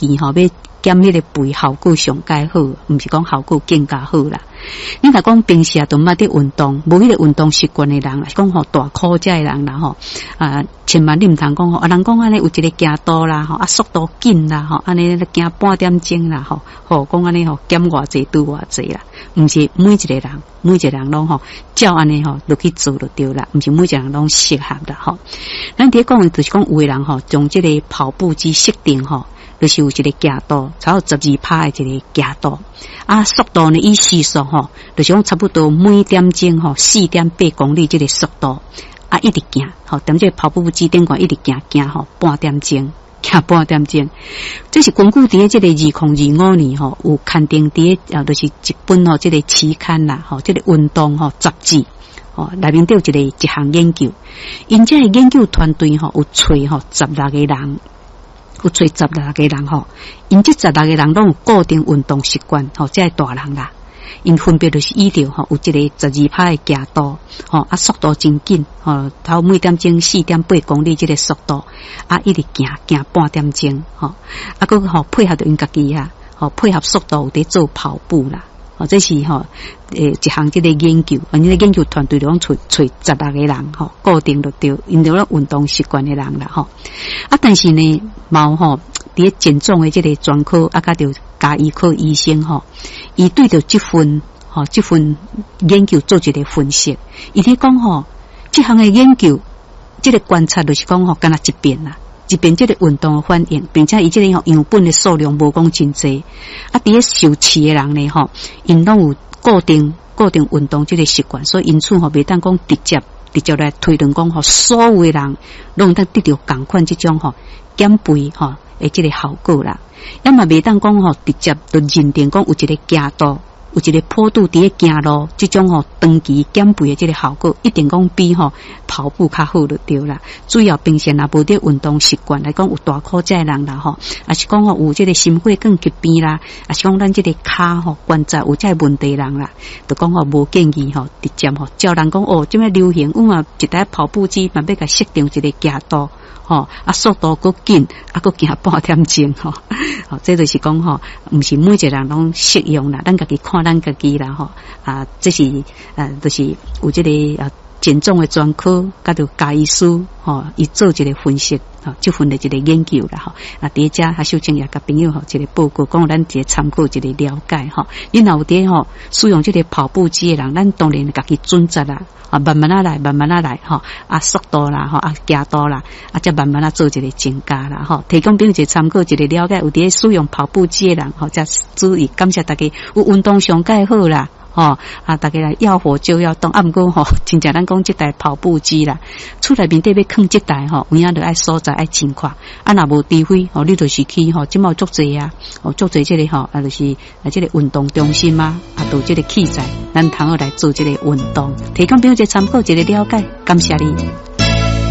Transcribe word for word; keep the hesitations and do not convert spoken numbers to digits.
議吼，欲減彼个肥效果上蓋好，毋是講效果更加好啦。你若講平時啊，都毋捌佇運動，無彼个運動習慣的人，是講吼大箍遮的人啦吼，啊，千萬你毋通講吼，啊，人講按呢有一个行度啦吼，啊，速度緊啦吼，按呢行半點鐘啦吼，吼講按呢吼減偌濟拄偌濟啦，毋是每一个人，每一個人攏吼照按呢吼落去做就對啦，毋是每一個人攏適合啦吼。咱佇咧講的就是講有的人吼，將這个跑步機設定吼，就是有一个行度，差不多十二趴的一個行度，啊，速度呢以時速吼，就是講差不多每點鐘吼四點八公里這个速度，啊，一直行，吼，踮這个跑步機頂懸一直行行吼半點鐘，行半點鐘，這是根據佇咧這个二零二五年吼有刊登佇咧啊，就是一本吼這个期刊啦，吼，這个運動吼雜誌。吼，內面底有一個一項研究，𪜶這個研究團隊吼有揣吼十六個人。有揣十六個人吼，𪜶這十六個人攏有固定運動習慣吼，這个大人啦，𪜶分別就是依著吼有一个十二趴的行度，吼啊速度真緊，吼頭每點鐘四點八公里這个速度，啊一直行行半點鐘，吼啊閣吼配合著𪜶家己啊，吼配合速度有佇做跑步啦。哦，這是吼，欸，一項這个研究，𪜶這个研究團隊攏揣揣十六個人吼，固定就對，𪜶著咧運動習慣的人啦吼。啊，但是呢，嘛有吼，佇咧減重的這个專科啊，佮著家醫科醫生吼，伊對著這份吼這份研究做一個分析，伊佇講吼，這項的研究，這个觀察就是講吼，干焦一邊啦。一邊這个運動的反應，並且伊這个吼樣本的數量無講真濟，啊，佇咧受試的人呢吼，𪜶攏有固定固定運動這个習慣，所以因此吼袂當講直接直接來推論講吼，所有的人攏會當得著仝款這種吼減肥吼的這个效果啦，也嘛袂當講吼直接就認定講有一个行度。有一个坡度佇咧行路，這種吼長期減肥的這个效果，一定講比吼跑步較好就對啦。主要平時若無佇運動習慣來講，有大箍遮的人啦吼，抑是講吼有這个心血管疾病啦，抑是講咱這个跤吼關節有這个問題人啦，就講吼無建議吼直接吼照人講哦，這擺流行，阮嘛一台跑步機嘛欲共設定一个行度。吼，啊，速度閣緊，啊，閣行半點鐘吼，吼，這就是講吼，毋是每一個人攏適用啦，咱家己看咱家己啦吼，啊，這是呃，就是有這個啊，減重的專科，佮著家醫師吼，伊做一個分析，吼，這份的一個研究啦吼，啊，佇遮啊，秀清也共朋友吼一個報告，講咱一個參考一個了解吼。你若有佇吼使用這個跑步機的人，咱當然家己準則啦。啊，慢慢仔來，慢慢仔來，吼，啊，速度啦，吼，啊，行度啦，啊，才慢慢仔做一個增加啦，吼，提供朋友一個參考，一個了解，有佇咧使用跑步機的人，吼，才注意，感謝大家有運動上蓋好啦，吼，啊，大家來要活就要動，啊，毋過吼，真正咱講這台跑步機啦，厝內面底欲囥這台吼，有影著愛所在愛真闊，啊，若無除非吼，你就是去吼，這擺有足濟啊，哦，足濟這个吼，啊，就是啊，這个運動中心啊，啊，都這个器材，咱通好來做這个運動，提供朋友一個參考，一個了解，感謝你。